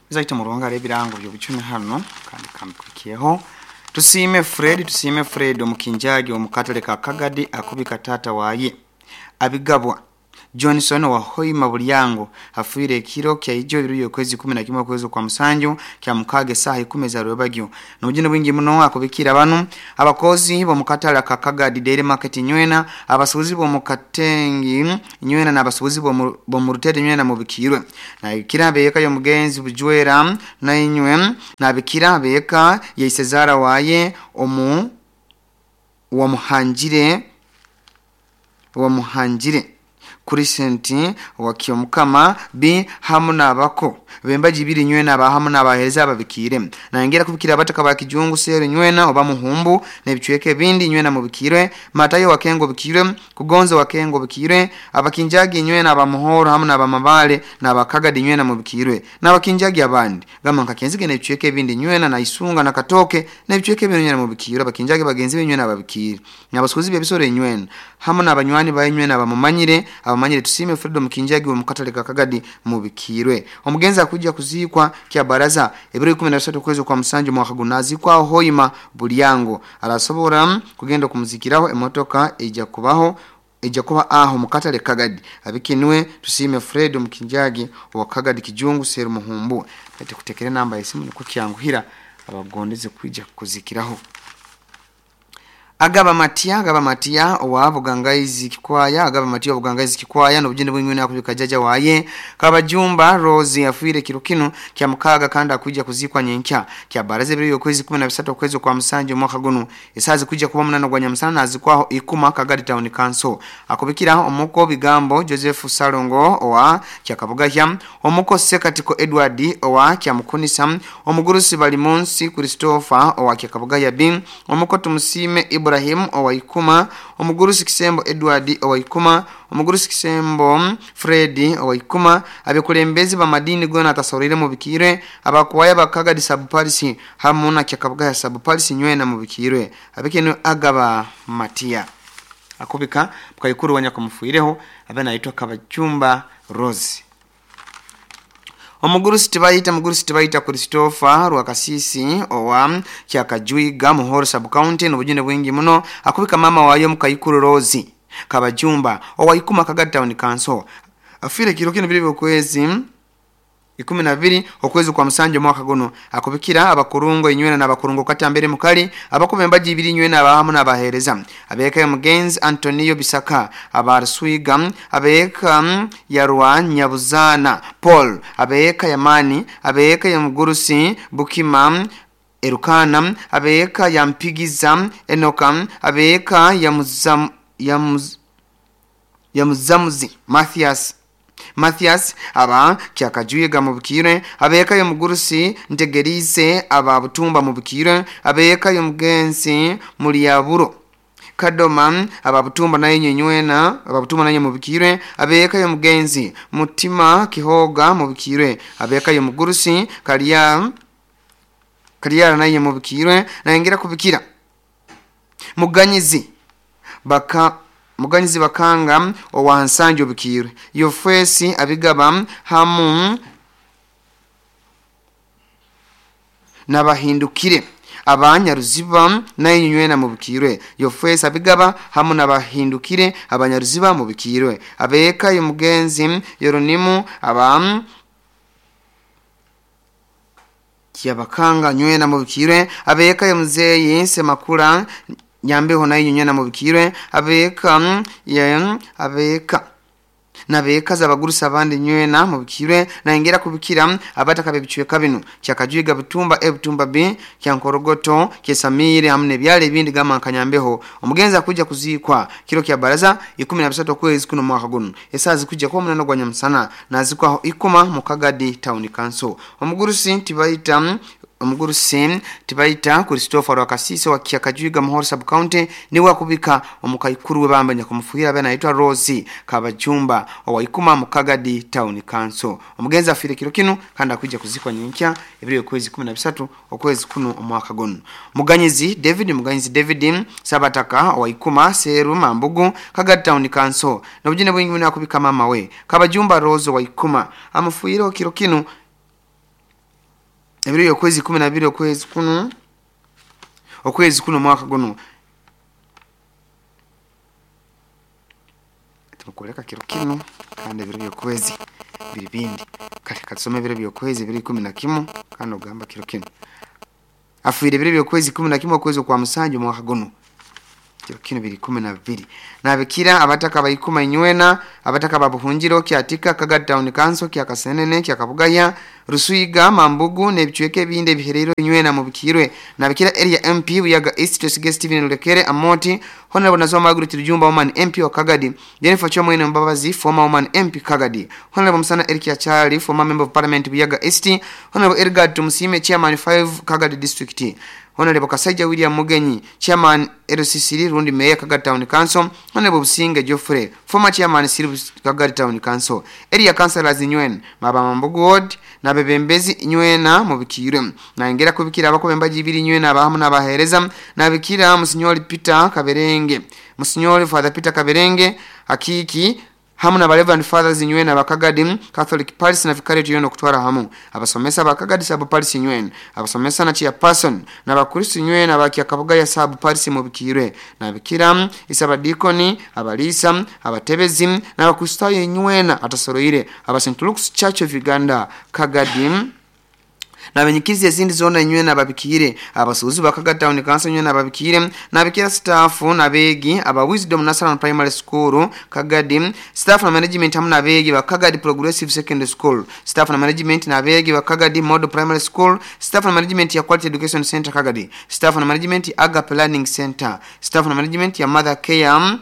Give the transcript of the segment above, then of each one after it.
Zaita muruhanga ebirango by'obucumi hano kandi kambikwikiyeho. Tusiime Fred, tusiime Fred omukinjagi omukatale ka Kagadi akubika tata waye abigabwa Johnson wa Hoima Bulyango afuire ekiro kya ijo ibiri okwezi 11 okwezi kwa musanju kya mukage saha 10 za rwebagyo. N'obujune bwingi muno akubikira banu abakozi bomukatale ka Kagadi Dairy Market nywena, abasuubuzi bomukatengi nywena n'abasuubuzi bomurutete nywena mubikirwe. Nabikira beka y'omugenzi Bujwera nainywe, nabikira beka ya Isezara waye omu wamuhanjire Crescent wa Kyomukama B hamu nabako bembaji biri nywena aba hamu n'abahereza ababikire. Nangera kubikira abataka ba Kijungu seru nywena oba muhumbu n'ebicweke bindi nywena mubikirwe. Matayo wakengo bikirwe, Kugonzo wakengo bikirwe, abakinjagi nywena abamuhoro hamu n'abamabale n'abakagadi nywena mubikirwe, n'abakinjagi abandi gama nkakenzige n'ebicweke bindi nywena na Isunga na Katoke n'ebicweke bindi nywena mubikirwe, abakinjagi bagenzi be nywena ababikire, n'abasukuzi b'ebisoro nywena hamu n'abanywani ba nywena abamumanyire abamanyire. Tusime Fredo Mukinjagi wa mukatale ka Kagadi mubikirwe. Omugenzi akuja kuzikwa kya baraza ebiro 13 kwezi kwa musanju mwaka gunazikwa Hoima Bulyango. Arasobora kugenda kumuzikiraho emotoka ejja kubaho ejja kuba aho mukatale Kagadi. Abikinwe Tusime Fredo Mukinjagi wa Kagadi Kijungu Seru Muhumbu. Ate kutekere namba yesimu niko kyanguhira abagondeze kuja kuzikiraho. Agaba Matia, Agaba Matia owa Bugangaizi Kikwaya, Agaba Matia wa Bugangaizi Kikwaya n'obujune bwingi akubika jaja waye Kabajumba Rose afuire kiro kino kya mukaga kandi akuja kuzikwa nyenkya kya baraza ebiro y'okwezi 13 okwezi kwa musanju mwaka guno esazi kuja kuba munana gwa nyamusana nazikwaho Ikuma Kagadi Town Council. Akubikira omuko bigambo Joseph Salongo owa Kyakabugahya, omuko Sekatiko Edward owa Kyamukunisa, omugurusi Balimunsi Christopher owa Kyakabugahya B, omuko Tumusime Ibrahim owa Ikuma, omugurusi Kisembo Edward owa Ikuma, omugurusi Kisembo Fred owa Ikuma, abekulembezi bamadini gona atasorire mubikirwe, abakwaya bakagadi Sub-Parisi hamu na Kyakabugahya Sub-Parisi nywena mubikirwe. Abekeno Agaba Matia akubika mukayikuru wanya kumufuireho abana aitwa Kabachumba Rose. Omugurusi tibayita, mugurusi tibayita Christopher Rwakasisi owa Kyakajuiga Muhoro Sub County n'obujune bwingi muno akubika mama wayo mukayikuru Rose Kabajumba owa Ikuma Kagadi Town Council. Afire kiro kino biri okwezi 12 okwezi kwa musanju mwaka guno. Akubikira abakurungo inywena n'abakurungo katambere mukali abakuba embaji ibiri inywena abahamu n'abahereza abeka ya mugenzi Antonio Bisaka abaruswiga abeka ya Rwanyabuzana Paul abeka ya Mani abeka ya Mugurusi Bukima Erukana abeka ya Mpigiza Enoka abeka ya Muzamuzi Mathias aba Kyakajuiga mubikire, abeka ya Mugurusi Ntegerize aba Butumba mubikire, abeka ya Mugenzi Mulyaburo Kadoma aba Butumba naye nyenywena aba Butumba naye mubikire, abeka ya Mugenzi Mutima Kihoga mubikire, abeka ya Mugurusi Kalia naye mubikire, nayengira kubikira Muganyizi Bakanga owa Nsanjo bikirwe, Yofesi abigaba hamu n'abahindukire abanyaruziba naye nywena mubikirwe, Yofesi abigaba hamu n'abahindukire abanyaruziba mubikirwe, abeka y'omugenzi Yoronimu aba Kyabakanga nywena mubikirwe, abeka y'omuzeyi Semakula Nyambeho nayo nywena mubikirwe, abeka ya abeka nabeka zabagurusa abandi nywena mubikirwe, naengera kubikira abataka bebicweka bino Kyakajuiga Butumba E Butumba B Kyankorogoto Kyesamire hamwe nebyale ebindi gama nkanyambeho. Omugenzi akuja kuzikwa kiro kya baraza 13 okwezi kuno mwaka guno esazi kuja kwa munano gwa nyamusana nazikwaho Ikuma Mukagadi Town Council. Omugurusi tibayita Christopher Rwakasisi wa Kyakajuiga Muhoro Sub County niwe akubika omukaikuru we bambanya kumufuhira bana aitwa Rose Kabajumba owa Ikuma Mukagadi Town Council. Omugenzi afire kiro kino kandi akuja kuzikwa nyenkya ebiro okwezi 13 okwezi kuno omwaka guno. Muganyizi David Sabataka owa Ikuma Seru Mambugu Kagadi Town Council n'obujune bwingi muno akubika mama we Kabajumba Rose owa Ikuma amufuhira kiro kino Ebiro by'okwezi 12 okwezi kuno omwaka guno tumukoleka kiro kinu kandi ebiro by'okwezi biri bindi. Kale katusome ebiro by'okwezi biri 11 kandi ogamba kiro kinu afiire ebiro by'okwezi 11 okwezi okwa musanju omwaka guno kiro kinu biri 12. Nabikira abataka baikuma inywena, abataka babuhungiro Kyatika, Kagadi Town Council, Kyakasenene, Kyakabugaya, Rusuiga, Mambugu n'ebicweka ebindi ebihereire inywena mubikirwe. Nabikira area MP Buyaga East Twesige Steven Lulekere Amoti, Honorable Nazwa Margaret Rujumba Woman MP wa Kagadi, Jennifer Chomwene Mbabazi former Woman MP Kagadi, Honorable Musana Eric Achali former Member of Parliament Buyaga East, Honorable Edgar Tumusime Chairman 5 Kagadi District, Honorable Kasaija William Mugenyi Chairman LCC Rundi Mayor Kagadi Town Council, Honorable Businge Geoffrey former Chairman Siri Kagadi Town Council, Area Councillors Nywen Maba Mambugu Ward nabebembezi nywena mubikirwe. Nangera kubikira abakobembaji ibiri nywena abahamu n'abahereza. Nabikira Musinyoli Peter Kaberenge, Musinyoli Father Peter Kaberenge Akiki hamu na Reverend Fathers nywena bakagadi Catholic Parish na Vicariate yono kutwara hamu abasomesa bakagadi sub parish nywena abasomesa na chairperson na bakristo nywena bakyakabuga ya sub parish mubikirwe. Nabikira isabadikoni abalisa abatebezi na bakristo nywena atasoroire aba St. Luke's Church of Uganda Kagadi nabenyikizi ezindi zona nywena babikire abasuuzi Bakagadi Town Council nywena babikire. Nabikira staff nabegi aba Wisdom National Primary School Kagadi, staff na management hamu nabegi ba Kagadi Progressive Secondary School, staff na management nabegi ba Kagadi Model Primary School, staff na management ya Quality Education Center Kagadi, staff na management ya Agape Learning Center, staff na management ya Mother Care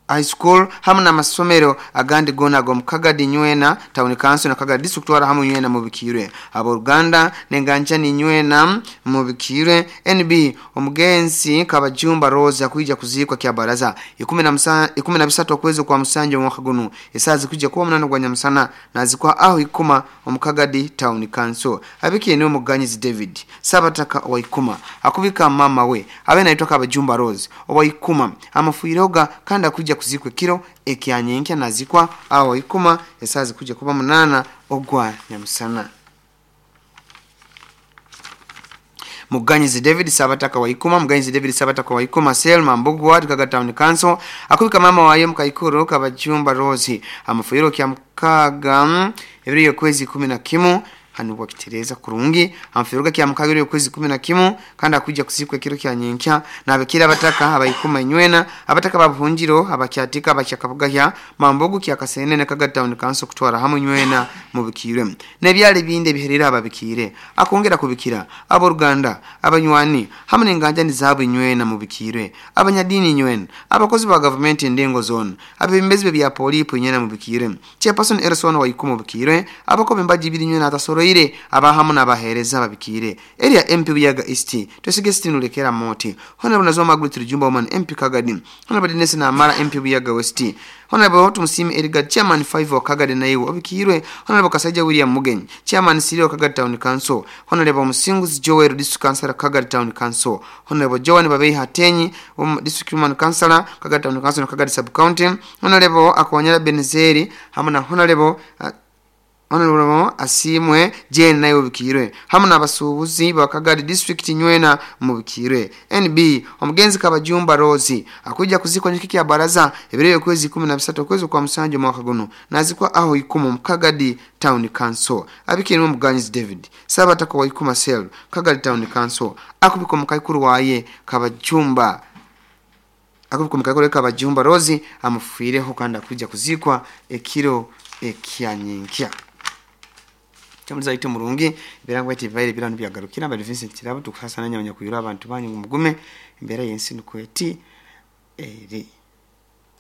High School hamu na masomero agandi gona gom Kagadi nywena Town Council na Kagadi District wara hamu nywena mubikirwe. Aboluganda nenganjani nywena mubikirwe. NB omugenzi Kabajumba Rose akuija kuzikwa kya baraza 13 okwezi kwa musanju omwaka guno esazi kuja kuwa 8 gwa nyamusana nazikwa aho ikuma omukagadi Town Council. Abikiye ni omuganyizi David Sabataka wa ikuma akubika mama we abe naitwa Kabajumba Rose owa ikuma amafuiroga kandi akuja kuzikwa kiro ekyanyenkya nazikwa aho ikuma esazi kuja kuba 8 ogwa nyamusana. Muganyizi David Sabataka wa ikuma, Muganyizi David Sabataka wa ikuma Selma Mbugu Ward Kagadi Town Council akubika mama waye mukaikuru Kabajumba Rose amafuiro kya mukaga ebiri yokwezi 11 hanu wakitereza kurungi amfiruga kya mukagiro yokwezi 11 kandi akuja kuzikwa kiro kya nyenkya. Nabikira abataka abayikuma nywena abataka babuhungiro abakyatika abakyakabugahya Mambugu kya Kasenene Kagadi Town Council kutwara hamu nywena mubikirwe nebyali binde biherera ababikire akongera kubikira aboruganda abanywani hamu n'enganjani zaabo nywena mubikirwe abanyadini nywena abakozi ba government endengo zone abebembezi bya polipo nywena mubikirwe chairperson Erson wa ikuma mubikirwe abakobe mbaji ibiri nywena atasoro ire abahamu n'abahereza babikire. Area MP Buyaga East Twesige Steven Lulekera Moti, Honorable Nazwa Margaret Rujumba Woman MP Kagadi, Honorable Dennis Namara MP Buyaga West, Honorable Tumusime Edgar Chairman 5 wa Kagadi naiwe obikirwe, Honorable Kasaija William Mugenyi Chairman Siri wa Kagadi Town Council, Honorable Musinguzi Joel District Councilor Kagadi Town Council, Honorable Joan Babei Hatenyi District Woman Councilor Kagadi Town Council na Kagadi Sub County, Honorable Akonyera Benezeri hamu na Honorable Honorable Asimwe Jane nayo bikirwe hamu n'abasuubuzi ba Kagadi District nywena mubikirwe. NB omugenzi Kabajumba Rose akuja kuzikwa nyiki ya baraza ebiro yokwezi 13 okwezi kwa musanju mwaka guno nazikwa aho ikuma mu Kagadi Town Council. Abikirwe omuganyizi David Sabataka wa ikuma Cell Kagadi Town Council akubiko mukaikuru waye Kabajumba akubiko mukaikuru Kabajumba Rose amufiireho kandi akuja kuzikwa ekiro ekyanyenkya. Chamuza ite murungi birangwa iti vaire birano byagarukira bali Vincent Kirabo tukusasa nanya abanyakuyura abantu banyu mugume embera yensi nukweti eri.